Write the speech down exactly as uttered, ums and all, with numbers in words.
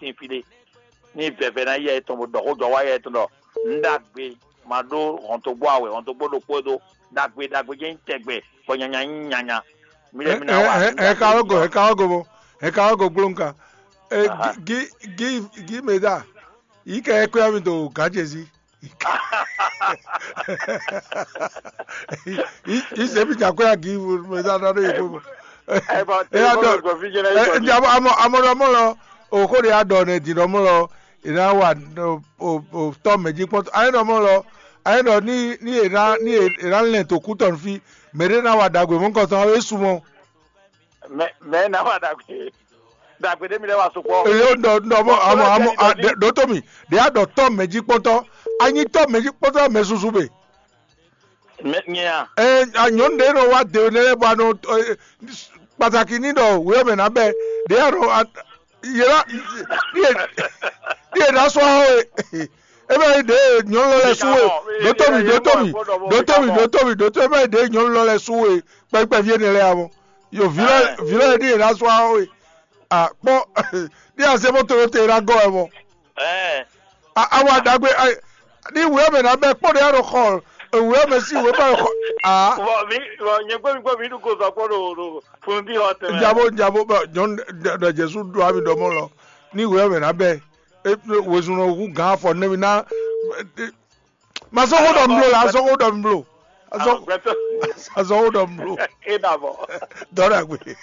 tín fí ɖé. Ní vɛvɛ ná yɛ tɔn bó ɖɔ xó jɔ wá yɛ tɔn ɖɔ un ɖagbe ma ɖó hɔntogbó awɛ, hɔntogbó ɖokpó ɖó ɖagbe ɖagbe jɛ́n nyí tɛgbɛ bɔ nyanya nyí nyanya. Mi lɛ mi ná wá. Ɛ ka wá go, ɛ ka wá go mɔ, ɛ ka wá go gblóŋka. Ɛ, gi gi gi mɛ da, yi kɛ ɛ kwɛ mi do gǎ jezi. Yi se mi jà kwɛ agi mɛ da da ɖo yi fún mi. Ɛ bɔ tɛ ɛ bɔ dɔ gbɔ fi jɛnɛ ɛ yɔ ɛ amɔ amɔ ɖɔ mɔ lɔ, o ko de adɔ ne di ɖɔ mɔ lɔ, ina wa o o tɔ mɛ ji kpɔtɔ ayi ɖɔ mɔ lɔ, ayi ɖɔ ni ni ina ni ina lɛn to kutɔ fi, mɛ ɖe na wa dagbe mɔ kɔtɔ e sumɔ. Mɛ mɛ na wa dagbe dagbe ɖe mi lɛ wa sukpɔ. Eyo ɖɔ ɖɔ mɔ amɔ amɔ a ɖe ɖo to mi ɖe a ɖɔ tɔ mɛ ji kpɔtɔ, anyi tɔ mɛ ji kpɔtɔ mɛ susu be. Mɛ nyɛ a. Ɛ a nyɔnu ɖe nɔ wa de ne lɛ bɔ a nɔ ɛ, pataki ni ɖɔ wɛ mɛ na bɛ ɖe a nɔ a yɛlɛ ɖiɛ ɖiɛ na sɔ hã we. E bɛ yi ɖe nyɔnu lɔ lɛ su we. Ɖo to mi ɖo to mi ɖo to mi ɖo to mi ɖo to mi e bɛ yi ɖe nyɔnu lɔ lɛ su we kpɛkpɛ vie ne lɛ ya mɔ. Yo vi lɔ vi lɔ ɖiɛ na sɔ hã we. A kpɔ ɖiɛ a se mɔ to te na gɔ wɛ mɔ. Ɛ A- awa ɖagbe ai, ní wǔ ɔ́ mɛ ná bɛ kpɔ́ ɖé aɖo xɔ wǔ ɔ́ mɛ sín wǔ ɔ́ bɛ xɔ aa. Vɔ mi vɔ nyɛ gbɔ mi gbɔ mi ɖu ko zɔ kpɔ ɖo ɖo funu bí xɔ tɛmɛ. Njabo njabo bɛ nyɔnu ɖɔ Jesu ɖo ami ɖɔ mɔ lɔ, ní wǔ ɔ́ mɛ ná bɛ wezun ɔ́ hú gǎn afɔ nɛ́ mi ná. Ma zɔ́ xó ɖɔ mi blo la, azɔ́ xó ɖɔ mi blo. Azɔ́ Gbɛtɔ azɔ́ xó ɖɔ mi blo. E na bɔ. Dɔ́ ɖagbe.